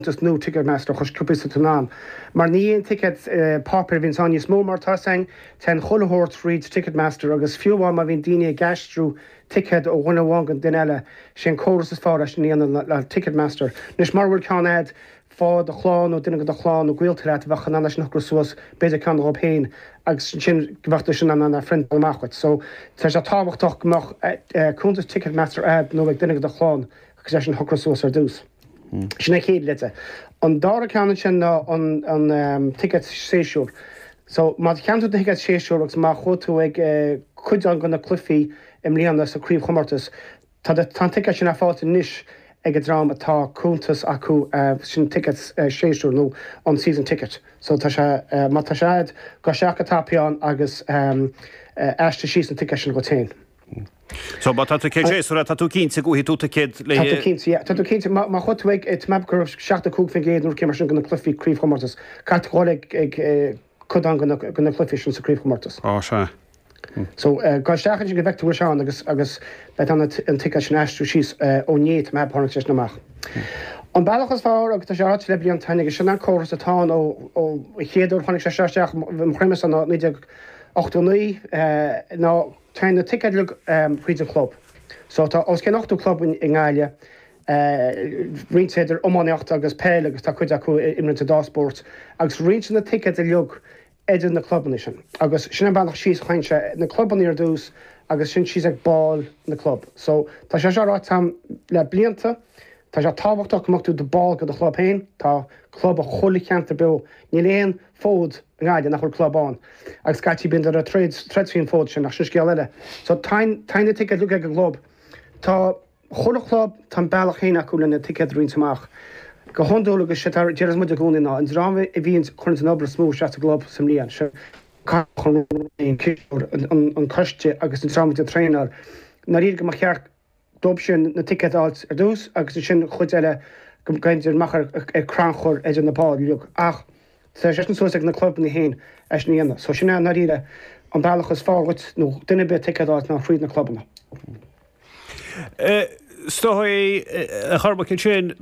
Cuntas nua Ticketmaster a chur suas in ann. Mar ní aon ticéad páipéir a bhíonns ann níos mó mar tá 'fhios a'inn, téann chuile shórt thríd Ticketmaster agus fiú amháin má bhíonn daoine ag aistriú ticéad ó dhuine amháin go duine eile, sé an córas is fearr é sin a dhéanamh le Ticketmaster. Anois mura bhfuil ceann a'd, faigh do chlann nó duine de do chlann nó gaolta leat a bheadh in ann é sin a shocrú suas, b'fhéidir ceann dhób féin agus ansin go mbeadh tú sin in ann é a phriontáil amach dhuit. So tá sé tábhachtach go mbeadh cuntas Ticketmaster a'd nó ag duine de do chlann agus é sin a shocrú suas ar dtús. Sin an chéad leide. An dara ceann ansin ná an ticéad séasúir. So, má cheannaigh tú do thicéad séasúir agus má chuaigh tú ag cuid de na cluichí i mbliana sa craobhchomórtas, tá tá an ticéad sin ar fáilt anois ag an dream atá cuntas acu, sin ticéad séasúir nó an season ticket. So tá sé, má tá sé a'd, gabh isteach go tapaidh ann agus aistrigh síos an ticéad sin dhuit féin. So má tá ticéad séasúir tá tú cinnte go bhfaighidh tú ticéad le. Tá tú cinnte, yeah. Tá tú cinnte, má má chuaigh tú ag, tá mé ag ceapadh go raibh 75% nó rud mar sin de na cluichí craobhchomórtas. Caithfidh tú dhul ag ag cuid de na de na cluichí sin sa craobhchomórtas. Á sea. So gabh isteach ansin go bhfeicfidh tú go bhfuil sé ann agus agus beidh tú in ann an ticéad sin a aistriú síos ó inné tá mé ag ceapadh tháinig sé sin amach. An bealach is fearr agus tá sé ráite le blianta agus sin an córas atá ann ó ó chéad uair tháinig sé seo isteach i mo chuimhne-sa ná 1989 ná Téann na ticéid uilig thríd an chlub. So tá os cionn 80 club i nGaillimh, roinnte idir iománaíocht agus peil agus tá cuid acu a imríonn an dá spórt, agus roinntear na ticéid uilig idir na clubanna sin. Agus sin an bealach síos a théann sé, na clubanna ar dtús agus sin síos ag baill na club. So tá sé seo ráite agam le blianta, tá sé tábhachtach go mbeadh tú i do ball de do chlub féin, tá club i chuile cheantar beo, níl aon fód i nGaillimh nach bhfuil club ann agus scaití bíonn siad ag troid troid faoin bhfód sin ach sin scéal eile. So téann téann na ticéid uilig ag an gclub. Tá chuile chlub tá an bealach féin acu lena ticéid a roinnt amach. Go hiondúil agus sé a deireas muid i gcónaí ná an dream a bhíonn cuireann an obair is mó isteach sa gclub sa mbliain sin an cisteoir an coiste agus an dream atá ag traenáil. I ndáiríre go mba cheart dóibh sin na ticéid a fháilt ar dtús agus ansin an chuid eile go dtéann siad amach ar crannchur idir na baill uilig. Ach tá sé sin suas ag na clubanna féin é sin a dhéanamh. So sin é i ndáiríre an bealach is fearr dhuit nó duine ar bith ticéad a fháilt ná thríd na clubanna. Is dóigh, a Chormaic, ansin,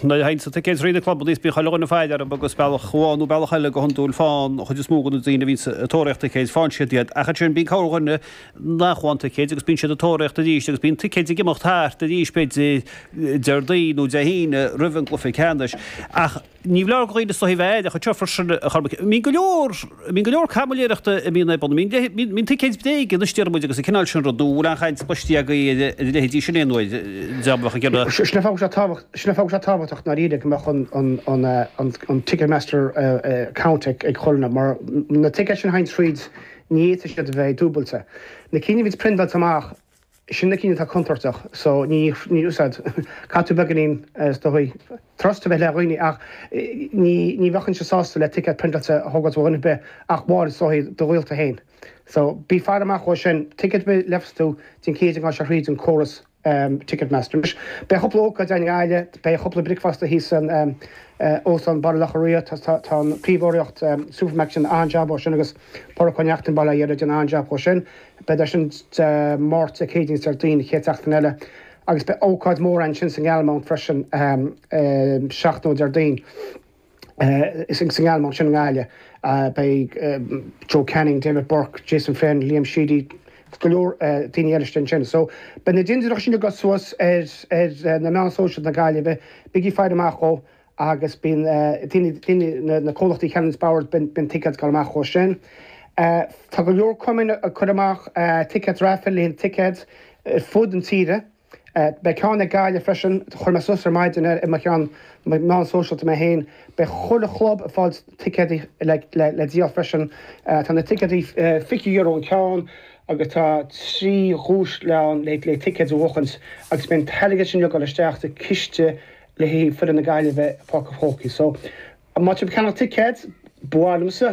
nuair a théann na ticéid thríd na clubanna is bíonn chuile dhuine ag faire orthu agus bealach amháin nó bealach eile go hiondúil faigheann an chuid is mó de na daoine a bhíonn ag tóraíocht ticéid, faigheann siad iad. Ach ansin bíonn corrdhuine nach bhfaigheann ticéid agus bíonn siad ag tóraíocht arís agus bíonn ticéid ag imeacht thart arís b'fhéidir Déardaoin nó Dé hAoine roimh an gcluiche ceannais. Ach ní foláir do dhaoine is dóigh a bheith aireach anseo freisin a Chormaic. Bíonn go leor, bíonn go leor caimiléireachta a bhíonn ar bun. Bíonn, bíonn ticéid bréige anois deir muid agus an cineál sin rud nó an bhfuil aon chaint cloiste agaibh ar a leithéidí sin aon uair, dream a bheadh ag iarraidh. Sin an fáth go bhfuil sé tábhacht, sin an fáth go bhfuil sé tábhachtach i ndáiríre go mbeadh an, an, an, an Ticketmaster account ag ag chuile dhuine mar na ticéid sin a théann tríd Ní fhéadfaidh siad a bheith dúbailte. Na cinn a bhíonns priontáilte amach, sin na cinn atá contúirteach, so ní, ní úsáid, caithfidh tú beagáinín, is dóigh, trust a bheith le dhaoine ach ní, ní bheadh sásta le ticéad priontáilte a thógáilt ó dhuine ar bith ach amháin is dóigh do ghaolta féin. So bí ag faire amach dhó sin, ticéad ar bith a léifeas tú, déan cinnte go ngabhann sé thríd an córas. Ticketmaster. Anois, beidh cúpla ócáid ann i nGaillimh, beidh cúpla bricfeasta thíos san Óstán Baile Locha Riach, tá an príomhurraíocht Supermac ag déanamh an-jab ó sin agus Pádraic Ó Neachtain Baile Átha Dheirg ag déanamh an-jab dhó sin. Beidh sin Dé Máirt, Dé Céadaoin is Déardaoin, an chéad tseachtain eile. Agus beidh ócáid mhór ansin sa nGalmount freisin seachtain ó Déardaoin. Sa nGalmount sin i nGaillimh beidh Joe Canning, David Burke, Jason Flynn, Liam Sheedy agus go leor daoine eile istigh ansin. So beidh na dintiúireacha sin ag dul suas ar na meáin sóisialta na Gaillimhe, bígí ag faire amach dhó agus bíonn daoine, daoine, na comhlachtaí a cheannaíonns boird, bíonn ticéid ag dul amach dhó sin. Tá go leor cumainn ag cur amach ticéid raffle le haghaidh ticéid ar fud an tíre. Beidh ceann ag Gaillimh freisin, chuir mé suas ar maidin ar mo cheann meán sóisialta mé féin. Beidh chuile chlub ag fáil ticéadaí le díol freisin. Tá na ticéadaí €20 an ceann agus tá 3 dhuais le ann le ticéid a bhuachaint agus beidh an t-airgead sin ag dul isteach sa ciste le haghaidh foireann na Gaillimhe i Páirc an Chrócaigh. So. Má tá sibh ag ceannach ticéad, ba mhaith liomsa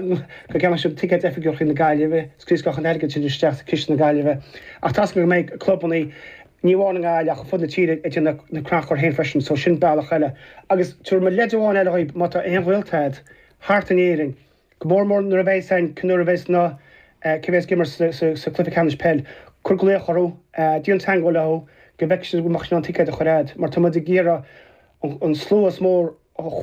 go gceannódh sibh ticéad oifigiúil chuig na Gaillimhe, scriosfadh an t-airgead sin isteach sa ciste na Gaillimhe. Ach tá's agam go mbeidh clubannaí, ní amháin i nGaillimh ach ar fud na tíre ag déanamh na crannchuir féin freisin, so sin bealach eile. Agus tabharfaidh mé leid amháin eile dhaoibh, má tá aon ghaolta a'd thart in Éirinn, go mór mór nuair a bheas ann, nuair a bheas na, cé bheas ag imirt sa cluiche ceannais peil, cuir glaoch orthu, déan teagmháil leo, go bhfeicfidh siad go mbeadh siad in ann ticéad a chur a'd, mar tá muid ag iarraidh an slua is mór. Chuaigh.